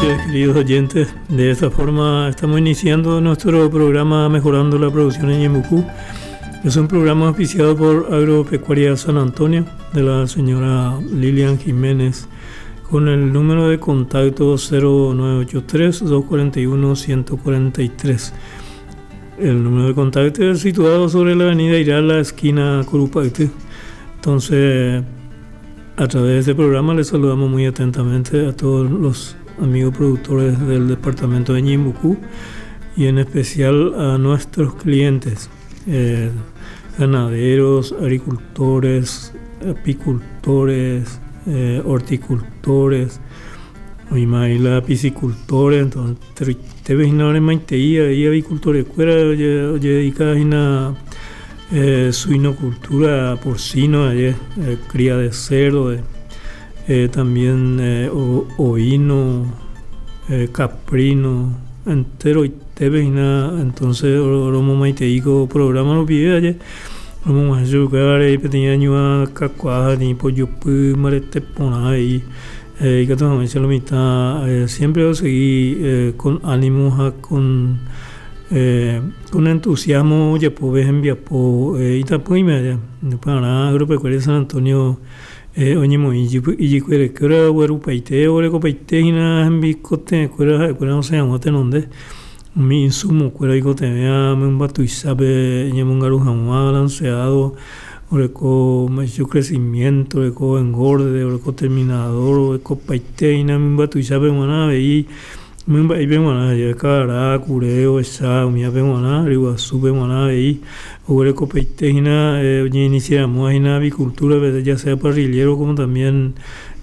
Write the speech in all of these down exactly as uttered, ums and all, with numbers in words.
Noches, queridos oyentes. De esta forma estamos iniciando nuestro programa Mejorando la Producción en Ñeembucú. Es un programa auspiciado por Agropecuaria San Antonio de la señora Lilian Jiménez con el número de contacto cero nueve ocho tres, dos cuarenta y uno, ciento cuarenta y tres. El número de contacto es situado sobre la avenida Irala, esquina Curupayty. Entonces, a través de este programa les saludamos muy atentamente a todos los amigos productores del departamento de Ñeembucú y en especial a nuestros clientes, eh, ganaderos, agricultores, apicultores, eh, horticultores, la piscicultores, entonces, te ves no eres maiteía, y avicultores fuera, oye, oye, dedica a eh, suinocultura porcino, oye, eh, cría de cerdo, eh, eh, también, eh, o-, ovino, eh, caprino, entero y te ves na, entonces, oromo maiteico programa lo pide ayer. Romo más yo que ahora ahí pequeña ñua cacuaja ni pollo pu marete pona ahí. Eh, y que todo me lo mitad, eh, siempre yo seguí, eh, con ánimo, ja, con, eh, con entusiasmo, ya po ves en via po, eh, y tampoco y media. No para nada, Agropecuaria San Antonio, eh, oye, mo, y yo, y yo, que era guarupaite, o recopaite, y nada, en bicote, cuera, cuera, no sé, no te nombre. Mi insumo, cuera, y cote, vea, me un batuizape, ñemongaru jamás, balanceado, oreco, me hizo crecimiento, oreco engorde, oreco terminador, oreco paite, y nada, me un batuizape, maná, veí, me un baile, maná, ya, cara, cureo, esa, umia, pe, maná, riguazú, pe, maná, veí, oreco paite, y nada, eh, oye, iniciamos, y nada, avicultura, ¿verdad? Ya sea parrillero, como también,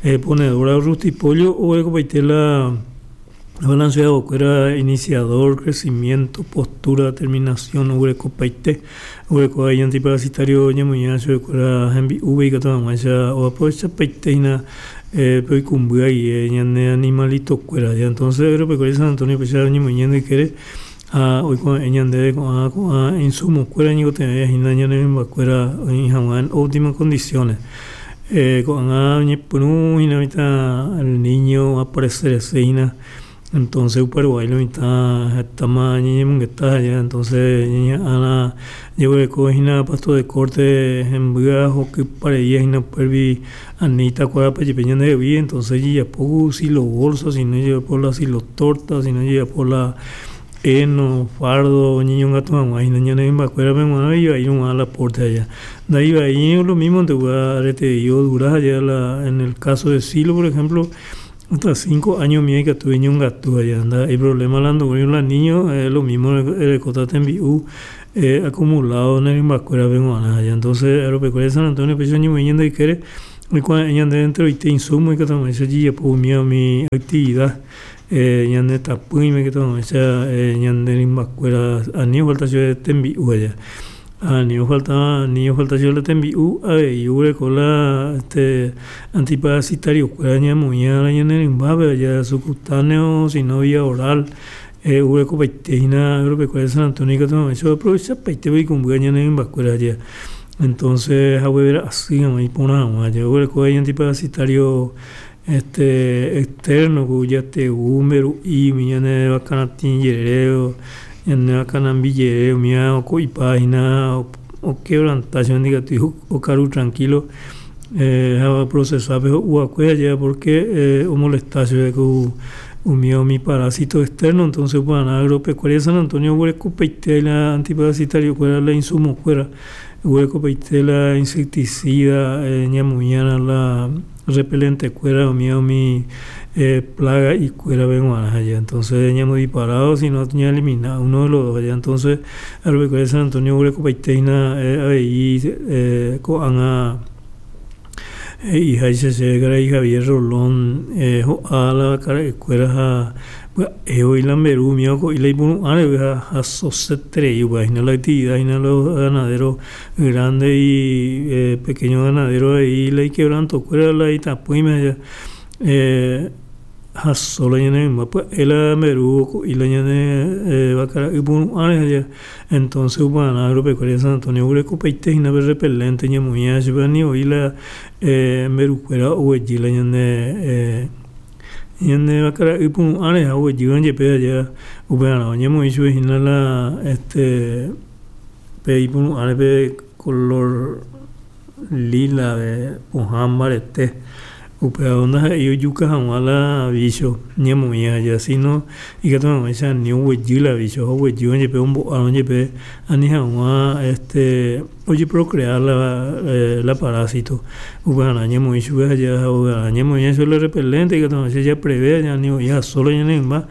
eh, ponedora, rustipollo, oreco paite, la balanceado, que era iniciador, crecimiento, postura, terminación, oreco paite, oreco ahí antiparasitario, ñamuñacho, que era hembi, uve y catamacha, o apoya paite y na, eh, pero y cumbia y, eh, ñane animalito cuera, ya entonces, agropecuaria San Antonio, pues ya ñamuñando y quiere, ah, hoy con ñande, con, ah, con, ah, insumo, cuera, ñigo te veas, y na, ñane, mimba, cuera, y jamás en óptimas condiciones. Eh, con, ah, ñe, punu, y na, mitad, el niño aparecer ese, y na, entonces, Paraguay, la mitad, está más ñe, ñe, está allá, entonces, ñe, ana, llevo de cojina, pasto de corte, en bugajo, que pareía, y no pervi, anita, cuadra, pa, yepeña de vi, entonces, ya poco, si lo bolso, si no lleva por la, si lo torta, si no lleva por la heno, fardo, niño, un gato, mamá, y niña, no, me acuerdo, me muero, y ahí no va a la puerta allá. De ahí va ahí, lo mismo, te voy a dar, te digo, duras allá, la, en el caso de Silo, por ejemplo, hasta cinco años mío que tuve un gato allá, anda, hay problema hablando con los niños, es lo mismo, el, el cotate en B U, eh, acumulado en el Imbacuera, vengo a allá. Entonces, Agropecuaria de San Antonio, pues yo ni me yendo y quiere, y cuando ella anda dentro y te insumo y que también se allí, pues mío, mi actividad, eh, ya ande tapuy, me que también se, eh, ya ande en Imbacuera, a ni falta yo de Tembi U allá. A ni falta, ni falta yo le Tembi U, a ver, yo le con la, este, antiparasitario, cuera, ña, muña, la, ña, en el Imbabe, allá, subcutáneo, si no vía oral, eh, hubo copaiteína, agropecuaria de San Antonio, que también se aprovecha, paite, y con buena, ña, en el Imbacuera, allá. Entonces, a ver, así, a mí, por nada más, yo le coge antiparasitario, este, externo, que ya te húmero, y mi ña, ne, bacana, tingereo, ña, ne, bacana, billereo, mía, o co, y página, o, o quebrantación, diga, tu hijo, o caru tranquilo, eh, a procesar, pero, o acuella ya, porque, eh, o molestación, de que u, u mío, mi parásito externo, entonces, bueno, agropecuaria de San Antonio, huele copeite, la antiparasitario, cuera la insumo, cuera, huele copeite, la insecticida, eh, ñamuñana, la repelente, cuera, o mío, mi, eh, plaga y cuera, vengo a allá. Entonces, ñamo disparado, si no, tenía eliminado uno de los dos allá. Entonces, agropecuaria de San Antonio, huele copeite, na, eh, ahí, eh, coana, eh, hija y se se y Javier Rolón, eh, jo, a la cara de cuera, ja, pues, eh, hoy la Merú, mío, co, y la Ibunu, ah, le, ja, ja, so se tre, y, pues, y no la actividad, y no los ganaderos grandes y, eh, pequeños ganaderos ahí, la y quebranto, cuera, la y tapuime, ya, eh, ja, solo ya no, pues, él a Merú, co, y la ya ne, eh, va cara, y bueno, ah, ya, entonces, bueno, agropecuaria de San Antonio, huele copaite, y no ve repelente, ña, muña, se va ni oí la, eh, Merú, cuera, o allí, la ya ne, eh, Ñane vaka ipu'ãre ha oguejýva jepe allá upearã oñemoĩ chupe hína la este pe ipu'ãre pe color lila de pohã mbarete upéva ndaha'éi ojuka hag̃ua la bicho ñemoĩ aja sino ikatu hag̃uáicha ani oguejy la bicho ha oguejýva jepe ombo'árõ jepe ani hag̃ua este ojeprocrear la, eh, la parásito upearã ñemoĩ chupe aja ha ñemoĩ chupe la repelente ikatu hag̃uáicha japrevé ani oĩha solo ñane mymba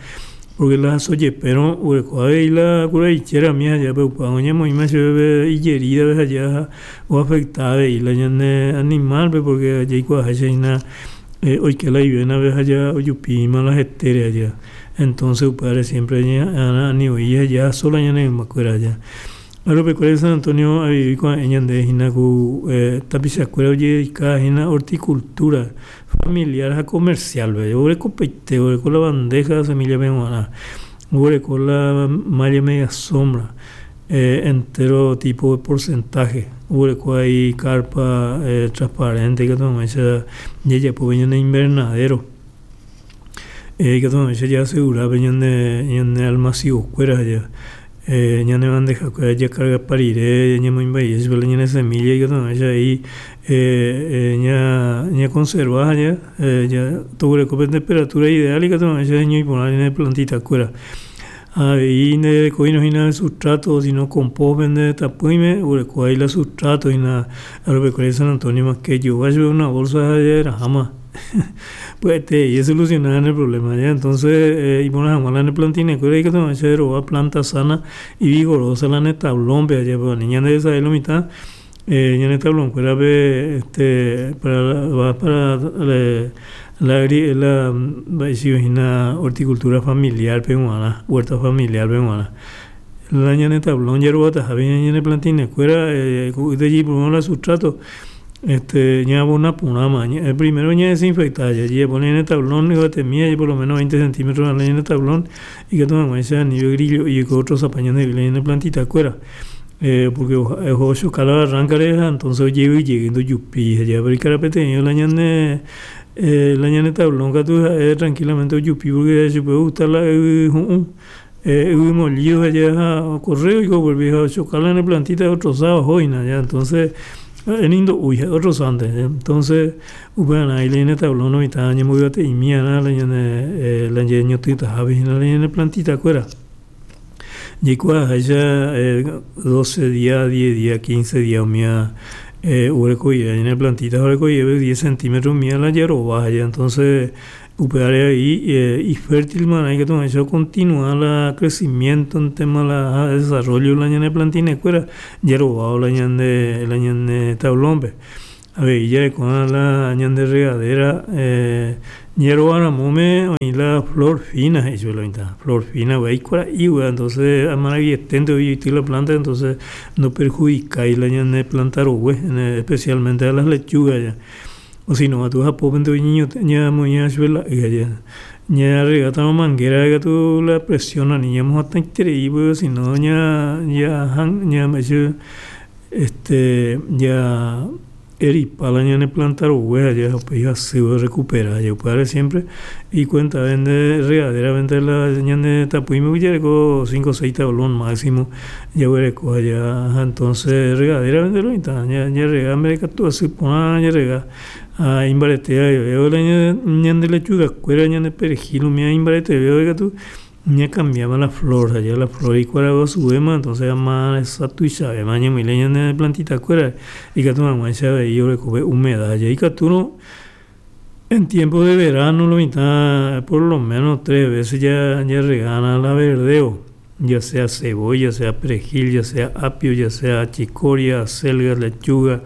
porque la sojepérõ oguereko avei la kuraichera mi allá pe upéva oñemoĩma chupe ijerida aja oafecta avei la ñane animal-pe porque jaikuaaháicha hína eh, oike la ivenape aja ojupíma la hetére aja entonces upévare siempre ñañeha'ã ani oĩ aja sola ñane mymbakuéra aja. Agropecuaria San Antonio avei ko'ã ñande hína ku eh, tapichakuéra ojededicada hína horticultura familiar ha comercial oguerekopaite oguereko la bandeja semilla g̃uarã oguereko la malla media sombra eh, entero tipo de porcentaje oguereko ahí carpa eh, transparente ikatu hag̃uáicha jajapo ñane invernadero eh, ikatu hag̃uáicha jaasegura pe ñane ñane almacigokuéra aja eh, ñane bandejakuéra jacargapa rire ñamoĩmba chupe la ñane semilla ikatu hag̃uáicha ahí eh, eh, ña ñaconserva aja eh, ya toguereko pe temperatura ideal ikatu hag̃uáicha heñói ñane plantitakuéra avei nderekoírõ hína sustrato sino compost pende tapỹime oguereko ahí la sustrato hína Agropecuaria San Antonio makejova chupe una bolsa jaraháma pya'ete solucionar el problema ya entonces eh, iporã hag̃ua la ne plantinakuéra ikatu hag̃uáicha rova planta sana y vigorosa la ne tablón-pe aja pero ani ñande sabe lo mitad eh, ñane tablón-kuérape este para va para la la la mba'éicha horticultura familiar-pe g̃uarã huerta familiar-pe g̃uarã la ñane tablón jarovatahápe ñane plantinakuéra eh, ko'ýte la sustrato este ñabona porãma primero ñadesinfecta jajapo ñane tablón yvatemi por lo menos veinte centímetros la ñane tablón ikatu hag̃uáicha ani grillo y otro sapa ñande ñane plantitakuéra eh, porque ochoka la barranca-re entonces ojevy ndojupi aja pero ikarapeteĩ la ñane eh, la ñane tablón katu ha'e tranquilamente ojupi porque chupe ogusta la yvy hu'ũ eh, yvy molido aja ha ocorre oiko volvi ha ochoka la ñane plantita otrozado ohóina ya entonces ni ndo'úi otrozánte entonces upearã la ñane tablón oĩta ñemboyvate'imi'arã la ñane eh, la ñeñotỹtahápe hína la ñane plantitakuéra jaikuaaháicha eh, doce días, diez días, quince días umíva eh, oguerekoive ñane plantita oguerekoive diez centímetros umíva la jarova aja entonces upévare ahí eh, ifértil marã ikatu hag̃uáicha continua la crecimiento en tema la desarrollo la ñane plantinakuéra jarovávo la ñande la ñane tablón-pe avei jarekóva la ñande regadera eh, jarovaramóme oĩ la flor fina he'i chupe la mitã flor fina aikuara'i entonces amaravietente oity la planta entonces no perjudicái la ñane planta rogue especialmente a las lechugas ya o si no tu japópente ñamoĩva chupe la y aja ñarregátarõ manguera katu la presión ani ñamohatãiterei pues si no ña ña ña este ya eripa la ñane planta rogue aja upéi hasýva recupera upévare siempre y cuenta vende regadera vende la ñane tapỹime jareko cinco o seis tablón máximo jaguereko aja entonces regadera vende lo mitã ñarrega mberekatu asy porã ñarrega ha imbarete la ñande lechugakuéra ñande perejil umíva imbareteve katu ñacambiaba la flor allá la flor ikuaraguasuvéma entonces ama tuichavéma ñamoĩ la ñane plantitakuéra ikatu hag̃uáicha avei orekove humedad aja ikatúrõ en tiempo de verano lo mitã por lo menos tres veces ya jarregana la verdeo ya sea cebolla, sea perejil, ya sea apio, ya sea chicoria, acelga, lechuga,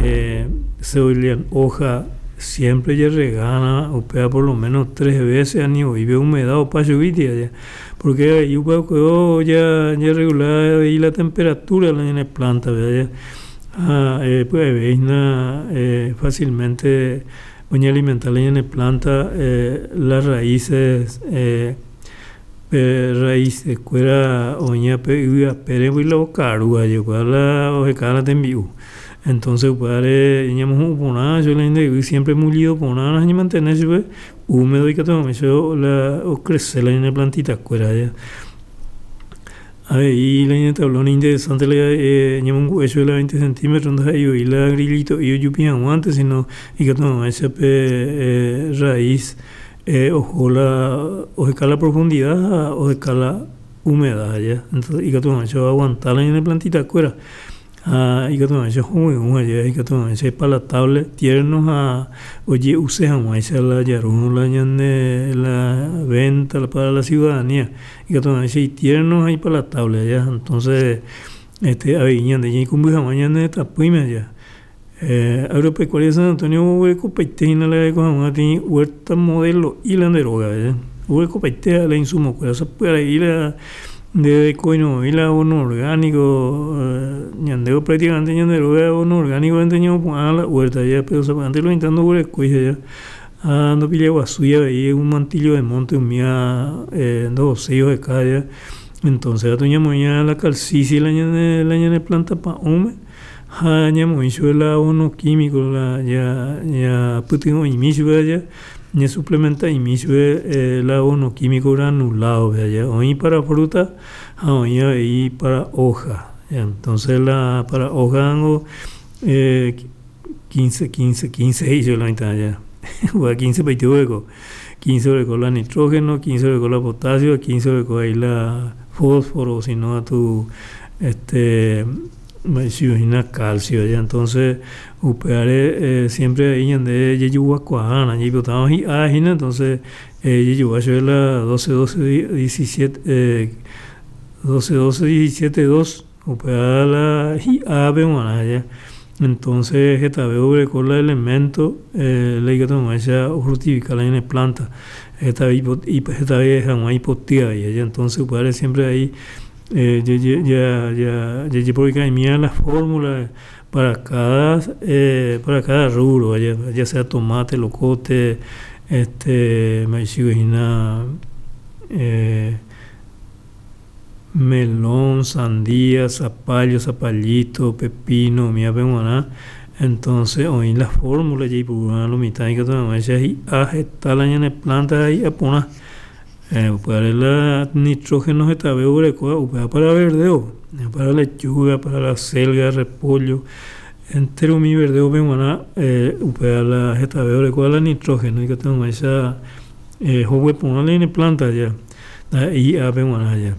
eh, cebolla en hoja, siempre ya regana upéva por lo menos tres veces ani oive humedad opa chuguiti allá porque ahí upéva ya ya regular ahí la temperatura la ñane planta ¿verdad? Ah, eh, pues veis eh, fácilmente oñealimentar la ñane planta eh, las raíces eh, pe raíces kuéra oĩva pe yvy apére la okaru aja la oheka la tembi'u entonces upévare ñamohu'ũ porã chupe la ñande yvy siempre mullido porã ha ñamantener chupe Húmedo ikatu la ocrece la ñane plantita kuéra ya. Avei la ñane tablón interesante la eh, ñamongu'e la veinte centímetros ndaha'éi la grillito ojupi hag̃uánte, sino ikatu hag̃uáicha pe eh, raíz eh, oho la oheka la profundidad ha oheka la humedad ya. Entonces ikatu hag̃uáicha oaguanta la ñane plantita kuéra ha ikatu hag̃uáicha hovyũ allá, ikatu hag̃uáicha palatable, tierno ha oje'use hag̃uáicha la jarúrõ la ñane la venta para la ciudadanía, ikatu hag̃uáicha tierno ha ipalatable ya. Entonces este avei ñande ñaikũmby hag̃ua ñane tapỹime allá. Eh, Agropecuaria San Antonio oguerekopaite hína la reko hag̃ua peteĩ huerta modelo la nde róga ya. Oguerekopaite la insumo kuéra, sapy'arei la nderekoirõi la abono orgánico, ñande prácticamente ñande róga abono orgánico ñamopu'ã la huerta ya, pero sapy'ánte lo mitã ndoguerekói ya ha ndopillaguasúi avei un mantillo de monte umíva eh, ndohoséi oheka ya. Entonces katu ñamoĩ la calcici la ñane la ñane planta pa'ũme ha ñamoĩ chupe la abono químico la ya ñapytyvõ'imi chupe allá, ñasuplementa'imi chupe eh, la abono químico granulado allá, oĩ para fruta ha oĩ avei para hoja. Entonces la para hoja niko eh, quince quince quince he'i chupe la mitã allá, quince paite oguereko, quince oreko la nitrógeno, quince oreko la potasio, quince oreko ahí la fósforo, sino katu este mba'eichahína calcio ya. Entonces upévare eh, siempre ahí ñande jajuguakuaána jaipotárõ hi'a hína, entonces eh, jajogua chupe la doce doce diecisiete eh, doce doce diecisiete dos, upéva la hi'ápe g̃uarã ya. Entonces hetave oguereko la elemento eh, la ikatu hag̃uáicha ofructifica la ñane planta, hetave hetave hag̃ua ipoty avei ya. Entonces upévare siempre ahí eh, ya ya jajeporeka'imíva la fórmula para cada eh, para cada rubro, ya, ya sea tomate, locote, este mba'eichahína eh, melón, sandía, zapallo, zapallito, pepino, umívape g̃uarã. Entonces oĩ la fórmula jaipurúva lo mitã ikatu hag̃uáicha hi'a heta la ñane planta ha hi'a porã. eh, upévare la nitrógeno hetave oguerekóva upéva para verdeo, para lechuga, para la selga, repollo, entero umi verdeope g̃uarã eh, upéva la hetave orekóva la nitrógeno ikatu hag̃uáicha eh, hogue porã la ñane planta ya, ndaha'éi hi'ápe g̃uarã ya.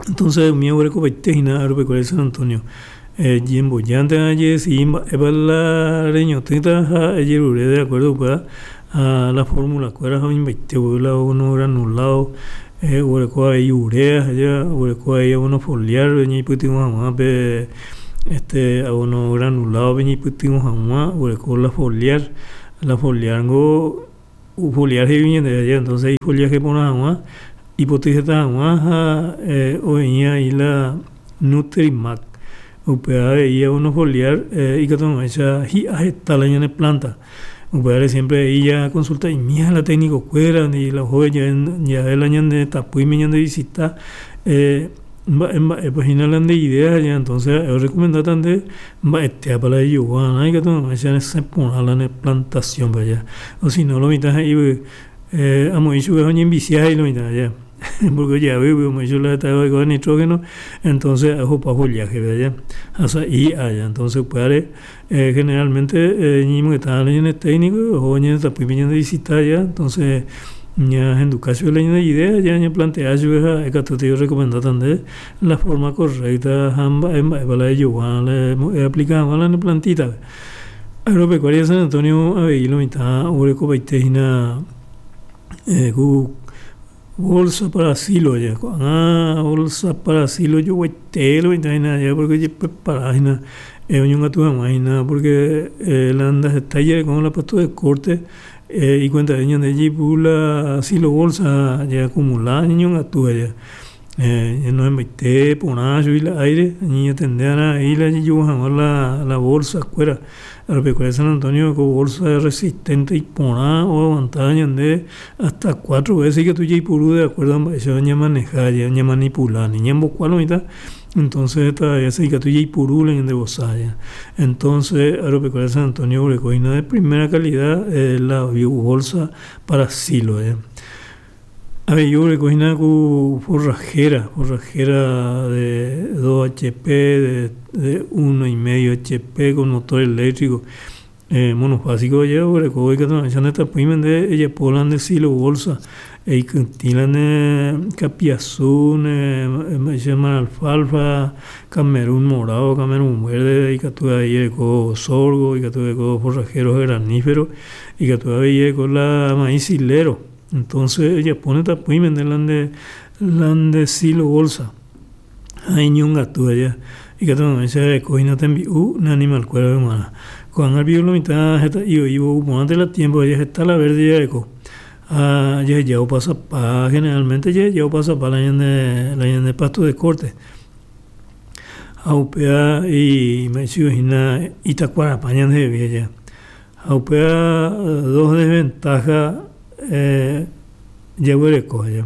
Entonces umi oguerekopaite hína Agropecuaria San Antonio. eh, Ñembojántema jedecidi mba'épa la reñotỹta ha ejerure de acuerdo upéva a la fórmula kuéra ha oĩmbaite voi la abono granulado, eh, oguereko avei urea ya, oguereko avei abono foliar ñaipytyvõ hag̃ua pe este abono granulado pe ñaipytyvõ hag̃ua, oguereko la foliar, la foliar niko foliar he'i ñandéve allá. Entonces ifoliaje porã hag̃ua, ipoty heta hag̃ua ha eh, oĩ ahí la Nutrimac, upéva avei abono foliar eh, ikatu hag̃uáicha hi'a heta la ñane planta. Upévare siempre ahí ya consulta'imíva la técnico kuéra la oho jave la ñande tapỹime ñande visita eh, mba'e mba'épa hína la nde idea ya. Entonces ha'e orecomendata nde mba'etépa la ejoguarã ikatu hag̃uáicha resẽ porã la ne plantación ya, o si no lo mitã he'i eh, amoĩ chupe oñenvicia he'i lo mitã ya, porque ojavýgui omoĩ chupe la hetave orekóva nitrógeno, entonces ohopa follaje ya ha sa'i hi'a ya. Entonces upévare eh, generalmente eh, ñañemongeta la ñane técnico oho ñane tapỹime ñande visita ya, entonces ñahenduka chupe la ñane idea ya, ñaplantea chupe ha ikatúta orecomendata nde la forma correcta ha mba'e mba'épa la ejogua la eaplica hag̃ua la ne plantita. Agropecuaria San Antonio avei lo mitã oguerekopaite hína eh, ku bolsa para silo ya, ko'ág̃a bolsa para silo joguaite lo mitã hína allá, porque ojeprepara hína eh, oñongatu hag̃ua hína, porque eh, la ndahetái jarekórõ la pasto de corte eh, ikuentave ñande jaipuru la silo bolsa ya acumula ñañongatu allá. Eh, no embaite porã chugui la aire, ñañatende ahí la jejuhu hag̃ua la, la bolsa kuéra. Agropecuaria San Antonio ko bolsa resistente iporã oaguanta ñande hasta cuatro veces ikatu jaipuru de acuerdo a mba'éichapa ñamaneja, ñamanipula ñambokua lo mitã. Entonces todavía ikatu jaipuru la ñande vosa. Entonces Agropecuaria San Antonio oguereko hína de primera calidad eh, la bolsa para silo. Eh. Avei oguereko hína ku forrajera, forrajera de dos H P, de, de uno y medio H P con motor eléctrico. Eh, monofásico ya oguereko ikatu hag̃uáicha ndetapỹime nde ejapo la nde silo bolsa eikytĩ la ne kapiasu, ne mba'éicha alfalfa, camerún morado, camerún verde, ikatu avei ereko sorgo, ikatu ereko forrajero granífero, ikatu avei ereko la maíz silero. Entonces ejapóne tapỹime nde la nde la nde silo bolsa ha iñongatu aja ikatu hag̃uáicha ereko hína tembi'u ne animal-kuérape g̃uarã. Ko'ág̃a rupi lo mitã heta'i oĩvo ouporãnte la tiempo aja heta la verde jareko ha jaheja opasapa, generalmente jaheja opasapa la ñane la ñane pasto de corte ha upéva mba'éicha hína itakuarapa ñandehegui aja ha upéva dos desventaja eh, jaguereko aja.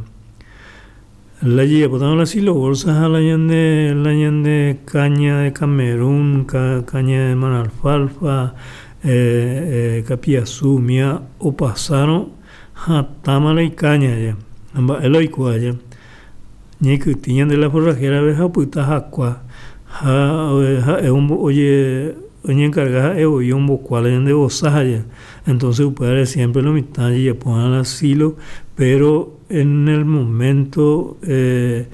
La jajapótarõ la silo bolsa ha la ñane la ñane caña de Camerún, ca, caña de maralfalfa, eh, eh, kapiasu umíva opasárõ hatãma la icaña aja ha mba'e la oiko aja ñaikytĩ ñande la forrajera-pe ha opyta hakua ha ha'e oye oñencarga ha'e voi ombokua la ñande vosa aja. Entonces upévare siempre lo mitã jajapo la silo, pero en el momento eh,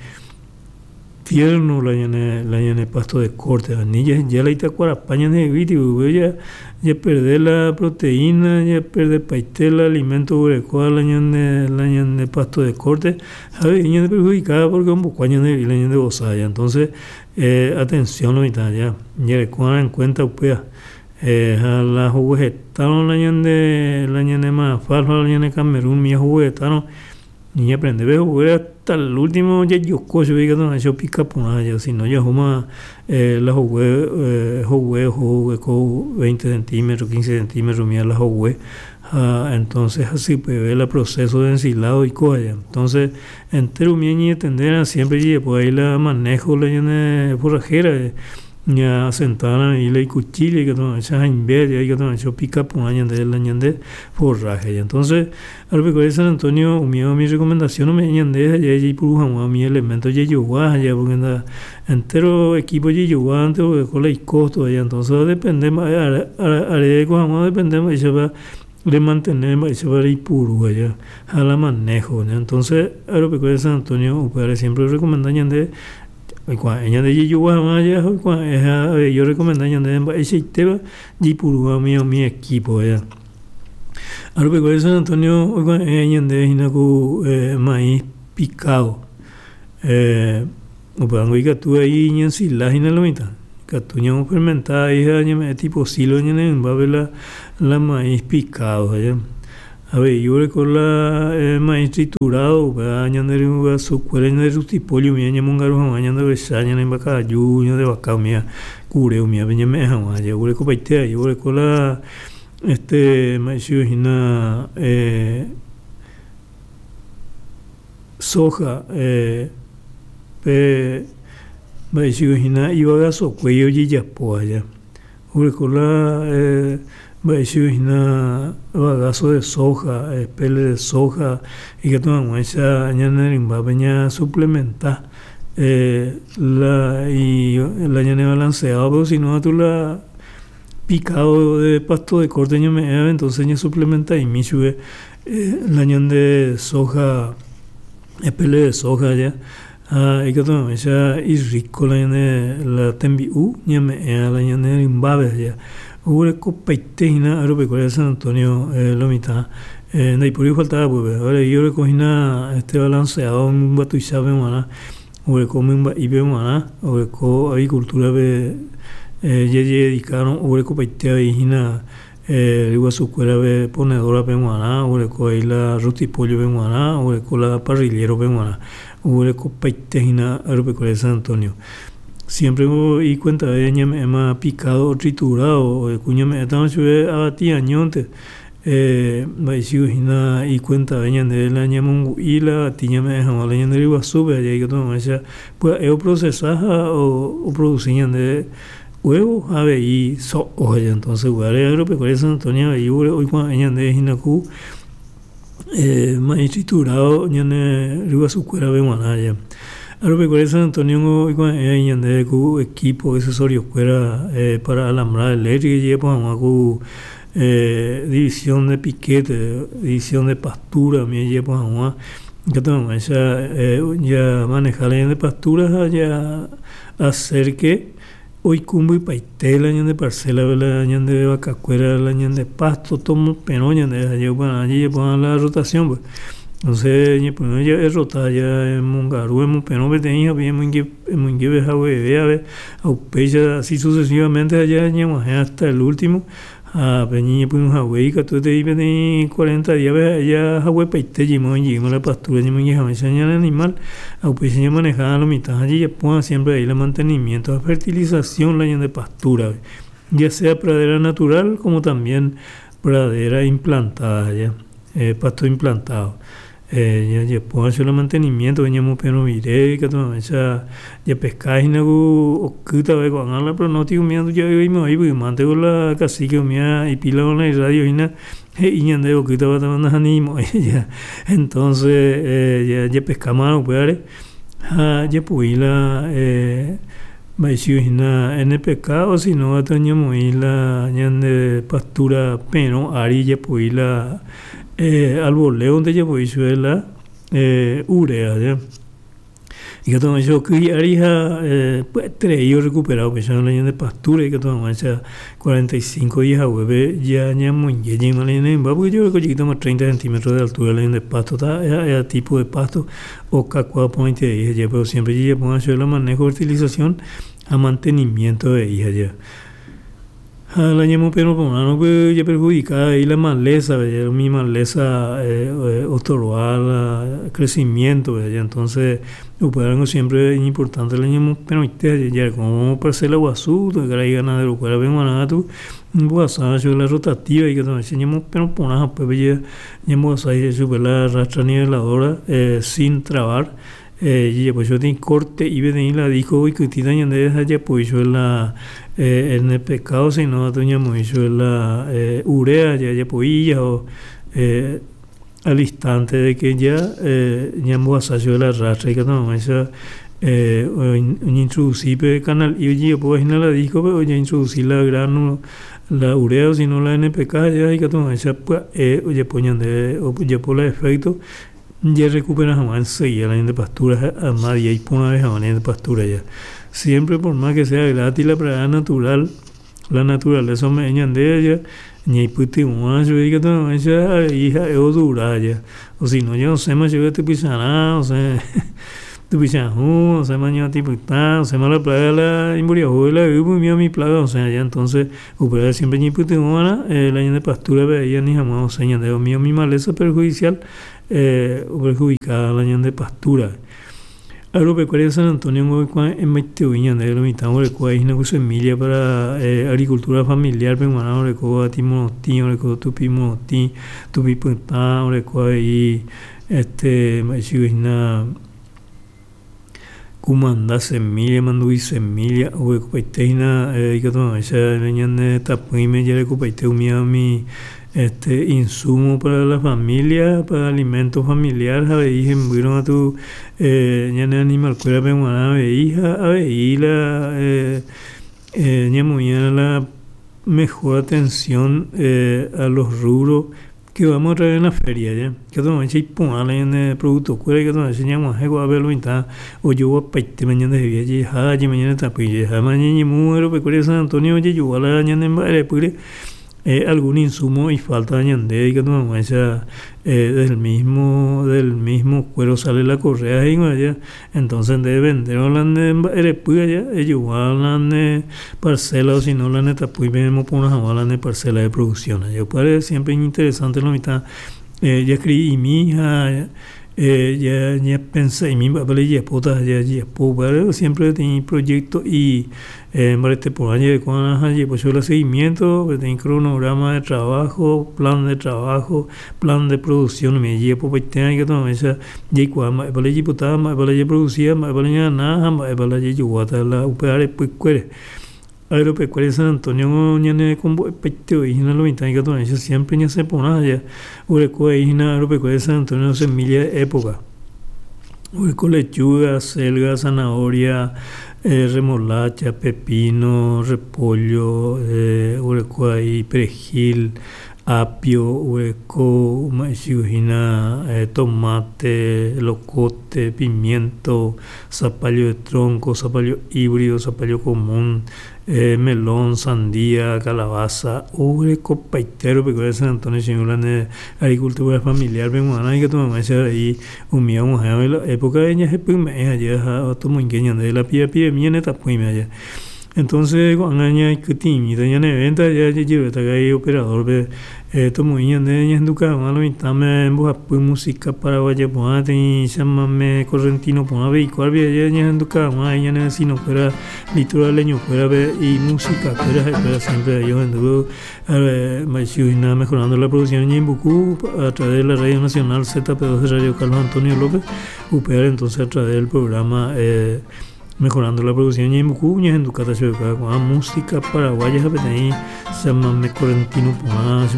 tierno la ñane la ñane pasto de corte ani jaheja la itakuarapa ñandehegui ya ya perder la proteína, ya perder paite el alimento oguerekóva la ñane la ñane pasto de corte ha avei ñande perjudicada porque ombokua ñandehegui la ñande vosa aja. Entonces eh, atención lo mitã ya jareko'arã en cuenta upéva eh, ha la hoguehetárõ la ñande la ñane alfalfa, la ñane Camerún umíva hoguehetárõ ñaprende hogue hasta el último jajoko chupe ikatu hag̃uáicha opika porã aja, si no jahúma eh, la hogue eh, hogue oho veinte centímetros, quince centímetros umíva la hogue ha entonces hasypeve la proceso de ensilado oiko aja. Entonces entero umi ñañatendérã siempre jajapo ahí la manejo la ñane forrajera, ñasentarã avei la icuchilla ikatu hag̃uáicha haimbe aja ikatu hag̃uáicha opika porã ñande la ñande forraje aja. Entonces Agropecuaria San Antonio umíva umi recomendación ome'ẽ ñande ha jaipuru hag̃ua umi elemento jajogua aja porque nda entero equipo jajogua oguereko la icosto aja. Entonces depende mba'e areko hag̃ua, depende mba'éichapa remantener, mba'éichapa reipuru aja ha la manejo. Entonces Agropecuaria San Antonio upévare siempre recomenda ñande oikuaa'e ñande jajogua hag̃ua aja ha oikuaa'e avei orecomenda ñande mba'eichaitépa jaipuru umi umi equipo aja. Agropecuaria San Antonio oikuaa'e ñande hína ku eh, maíz picado eh, upévango ikatu ahí ñaensila hína lo mitã ikatu ñamofermenta ahí ha ñame'ẽ tipo silo ñane rymbápe la, la maíz picado aja. Avei oguereko la eh, maíz triturado, upéva ñande ryguasukuéra, ñande rustipollo umíva ñamongaru hag̃ua ñande ovecha, ñane mbakaju, ñande vaka umíva, kure umívape ñame'ẽ hag̃ua aja oguerekopaite ahí oguereko la este mba'éicha hína eh, soja eh, pe mba'éicha hína ivagasokue ojejapo aja oguereko la eh, mba'éicha hína bagazo de soja, pele de soja ikatu hag̃uáicha ñane rymbápe ñasuplementa eh, la, y, la ñane balanceado, pero si no tu la picado de pasto de corte ñame'ẽva, entonces ñasuplementa'imi chupe eh, la ñande soja, pele de soja aja ha ikatu hag̃uáicha irrico la ñane la tembi'u ñame'ẽva la ñane rymbápe aja. Oguerekopaite hína Agropecuaria San Antonio eh, lo mitã eh, ndaipóri faltaba pype. Avei oreko hína este balanceado mymba tuichápe g̃uarã, oguereko mymba'ípe g̃uarã, oguereko avicultura-pe eh, jajededicarõ oguerekopaite avei hína. eh, ryguasukuérape ponedora-pe g̃uarã, oguereko avei la rostipollo-pe g̃uarã, oguereko la parrillero-pe g̃uarã, oguerekopaitehína Agropecuaria San Antonio. Siempre ikuentave ñame'ẽma picado o triturado, ku ñame'ẽtava chupe avati añónte, eh, mba'eichahína ikuentave ñandéve la ñamongu'i la avati ñame'ẽ hag̃ua la ñande ryguasúpe ha ikatu hag̃uáicha pya'e oprocesa ha oproduci ñandéve huevo ha avei so'o ha entonces upévare Agropecuaria San Antonio avei oikuave'ẽ ñandéve hína ku eh, maíz triturado ñane ryguasukuérape g̃uarã ja. Agropecuaria San Antonio oikuave'ẽ ñandéve ku equipo accesorio-kuéra eh, para alambrado eléctrico jejapo hag̃ua ku eh, división de piquete, división de pastura umi jejapo hag̃ua ikatu hag̃uáicha eh, ya manejar la ñande pastura ha ya hacer que oikũmbypaite la ñande parcela la ñande vakakuéra la ñande pasto tomoperõ ñande ha upearã jajapo la rotación pues. Entonces ñepyrũ jave rota ya emongaru emoperõ peteĩ ha emoinge emoingeve hagueve ave ha upéicha así sucesivamente ha ya ñag̃uahẽ hasta el último ha pe ñañepyrũ hague ikatuetei peteĩ cuarenta días-pe ya haguepaite jeýma la pastura ñamoinge hag̃uáicha ñane animal ha upéicha ñamaneja lo mitã ha jajapóva siempre ahí la mantenimiento ha fertilización la ñande pastura ya sea pradera natural como también pradera implantada ya, eh, pasto implantado. Eh, jajapóva la mantenimiento ñamoperõ rire ikatu hag̃uáicha japescahína ku okýtava ko'ág̃a la pronóstico umi nduja'yvaimo'ãi mante la cacique umi ipila la iradio hína he'i ñandéve okýtava nahanimo'ãi ya entonces eh, japescáma upévare ha japoi la eh, mba'eichahína N P K o si no ñamoĩ la ñande pastura perõ ári japoi la eh, al voleo japoi chupe la eh, urea ya. Ikatu hag̃uáicha oky hi'ári ha eh, pya'eterei orecupera upéicha la ñande pastura ikatu hag̃uáicha cuarenta y cinco días haguépe ya ñamoinge jeýma la ñane mymba porque jaguereko jeýtama treinta centímetros de altura la ñande pasto ta ha'e tipo de pasto okakuaa porãiterei ha pero siempre jajapo chupe la manejo fertilización ha mantenimiento avei ha ja. Ha la ñamoperõ porãrõ japerjudica avei la maleza, umi maleza eh, otorba la crecimiento ya entonces upévarengo siempre es importante la ñamoperõite jareko parcela guasu karai ganadero-kuérape g̃uarã katu mbohasa chupe la rotativa ikatu hag̃uáicha ñamoperõ porã ha upépe ñambohasa chupe la rastra niveladora eh, sin trabar eh, jajapo chupe peteĩ corte peteĩ la disco oikytĩta ñandéve ha japoi chupe la eh, N P K o si no katu ñamoĩ chupe la eh, urea jajapoi o eh, al instante de que ya eh, ñambohasa chupe la rastra ikatu hag̃uáicha eh, oñeintroduci pe canal y ojejapovahína la disco-pe oñeintroduci la gránulo la urea o si no la N P K ya ikatu hag̃uáicha pya'e ojapo ñandéve ojapo la efecto ya recupera hag̃ua enseguida la ñande pastura ha día iporãve hag̃ua ñande pastura ya. Siempre por más que sea gratis la pradera natural, la naturaleza ome'ẽ ñandéve ya ñaipytyvõva chupe ikatu hag̃uáicha avei ha'e odura ya. O si no ya osẽma chupe typycharã, osẽ typychahũ, osẽma ñuatĩpytã, osẽma la plaga la imboriahu la yvy umi umi plaga osẽ ya. Entonces upéva siempre ñaipytyvõva'erã eh, la ñande pastura-pe avei ani hag̃ua osẽ ñandéve umi umi maleza perjudicial eh, perjudicada la ñande pastura. Agropecuaria San Antonio oikuave'ẽmaitei ñandéve lo mitã oguereko hína ku semilla para eh, agricultura familiar pe g̃uarã oreko avati morotĩ, oreko tupi morotĩ, tupi pytã, oreko avei este mba'eichahína kumanda semilla, manduvi semilla, oguerekopaitehína eh, ikatu hag̃uáicha ñane tapỹime jarekopaite umi umi este insumo para la familia, para alimento familiar ha avei hembýrõ katu eh, ñane animal-kuérape g̃uarã avei ha avei la eh, eh, ñamoĩva la mejor atención eh, a los rubros que vamos a traer en la feria ya. Ikatu hag̃uáicha iporã la ñane producto-kuéra ikatu hag̃uáicha ñag̃uahẽ ko'ápe lo mitã ojoguapaitema ñandehegui jeha jeme ñane tapỹi jeha ñañemu Agropecuaria San Antonio ojejogua la ñane mba'erepýre eh, algún insumo y falta ñande ikatu hag̃uáicha eh, del mismo del mismo cuero sale la correa he'íva entonces nde vendérõ la nde mba'erepy aja ejogua la nde parcela o sino la nde tapýipe emoporã hag̃ua la nde parcela de producción aja upévare siempre interesante lo mitã eh, jaescribi'imi ha eh, ya ñapensa'imi mba'épa la ijapóta jajapo upévare siempre peteĩ proyecto y eh, mbarete porã jarekóva ha jajapo chupe la seguimiento peteĩ cronograma de trabajo, plan de trabajo, plan de producción umi jajapopaite ikatu hag̃uáicha jaikuaa mba'épa la ijaipotáva mba'épa la japroducía mba'épa la ñagana ha mba'épa la jajoguáta la upe arepykuére. Agropecuaria San Antonio ñanerekombo'epaite hína lo mitã ikatu hag̃uáicha siempre ñasẽ porã aja oreko hína Agropecuaria San Antonio semilla de época oreko lechuga, acelga, zanahoria, eh, remolacha, pepino, repollo, eh, oreko ahí perejil, apio, oreko hína eh, tomate, locote, pimiento, zapallo de tronco, zapallo híbrido, zapallo común, eh, melón, sandía, calabaza, orekopaite Agropecuaria San Antonio che la agricultura familiar pe g̃uarã ikatu hag̃uáicha avei umi og̃uahẽva la época ñahepyme'ẽ aja ha tomoinge ñande la pirapiremi ñane tapỹime aja entonces ko'ág̃a ñaikytĩmíta ñane venta ja jajeruréta karai operador-pe eh, tomoĩ ñande ñahenduka hag̃ua lo mitãme mbohapy música paraguaya porã peteĩ chamame correntino porã veikuápe aja ñahenduka hag̃ua ñane vecino-kuéra litoraleño-kuérape imúsica-kuéra ha'ekuéra siempre ahí ohendu mba'eichagua mejorando la producción Ñeembucú a través de la Radio Nacional Z P dos de Radio Carlos Antonio López upévare entonces a través del programa eh, mejorando la producción Ñeembucú ñahendukáta chupekuéra ko'ã música paraguaya ha peteĩ chamame correntino porã.